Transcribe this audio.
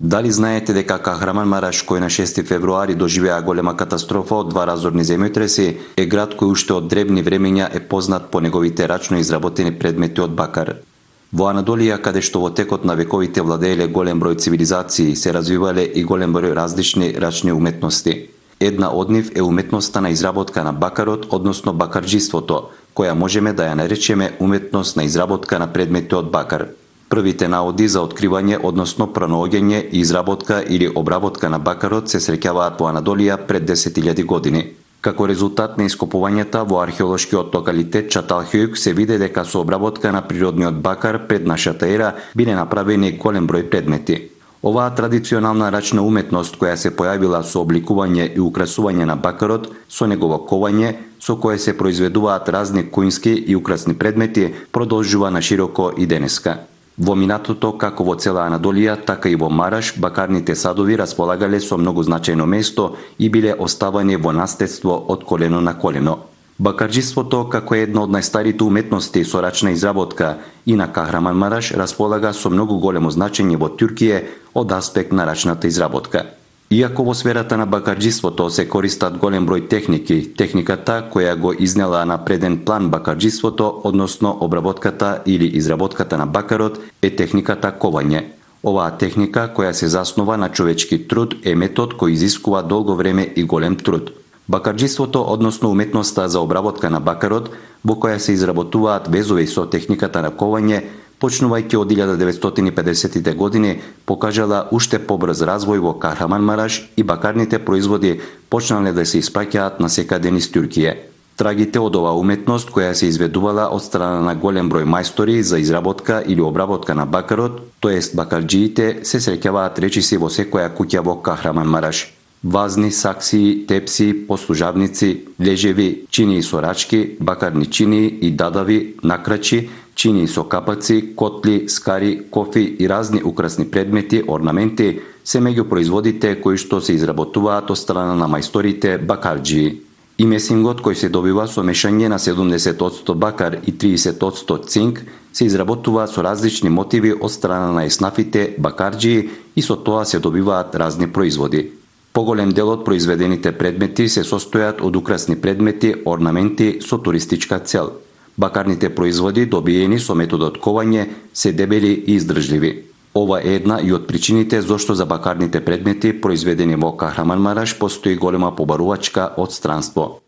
Дали знаете дека Кахраманмараш, кој на 6 февруари доживеа голема катастрофа од 2 разорни земјотреси, е град кој уште од древни времења е познат по неговите рачно изработени предмети од бакар? Во Анадолија, каде што во текот на вековите владееле голем број цивилизации, се развивале и голем број различни рачни уметности. Една од нив е уметноста на изработка на бакарот, односно бакарџиството, која можеме да ја наречеме уметност на изработка на предмети од бакар. Првите наоди за откривање, односно пронаоѓање и изработка или обработка на бакарот се среќаваат во Анадолија пред 10.000 години. Како резултат на ископувањата во археолошкиот локалитет Чаталхјук се виде дека со обработка на природниот бакар пред нашата ера биле направени голем број предмети. Оваа традиционална рачна уметност која се појавила со обликување и украсување на бакарот, со негово ковање, со кое се произведуваат разни куински и украсни предмети, продолжува на широко и денеска. Во минатото, како во цела Анадолија, така и во Мараш, бакарните садови располагале со многу значајно место и биле оставани во наследство од колено на колено. Бакарџиството, како една од најстарите уметности со рачна изработка и на Кахраманмараш, располага со многу големо значење во Туркија од аспект на рачната изработка. Иако во сферата на бакарџиството се користат голем број техники, техниката која го изнела на преден план бакарџиството, односно обработката или изработката на бакарот, е техниката ковање. Оваа техника, која се заснова на човечки труд, е метод кој изискува долго време и голем труд. Бакарџиството, односно уметноста за обработка на бакарот, во која се изработуваат везови со техниката на ковање, почнувајќи од 1950-тите години, покажала уште побрз развој во Кахраманмараш и бакарните производи почнале да се испраќаат насекаде низ Туркија. Трагите од оваа уметност, која се изведувала од страна на голем број мајстори за изработка или обработка на бакарот, тоест бакарџиите, се среќаваат речиси во секоја куќа во Кахраманмараш. Вазни, саксии, тепси, послужавници, лежеви, чинии со рачки, бакарни чинии и дадави, накрачи, чинии со капаци, котли, скари, кофи и разни украсни предмети, орнаменти се меѓу производите кои што се изработуваат од страна на мајсторите бакарџии. И месингот кој се добива со мешање на 70% бакар и 30% цинк се изработува со различни мотиви од страна на еснафите бакарџии и со тоа се добиваат разни производи. Поголем дел од произведените предмети се состојат од украсни предмети, орнаменти со туристичка цел. Бакарните производи, добиени со методот ковање, се дебели и издржливи. Ова е една и од причините зошто за бакарните предмети произведени во Кахраманмараш постои голема побарувачка од странство.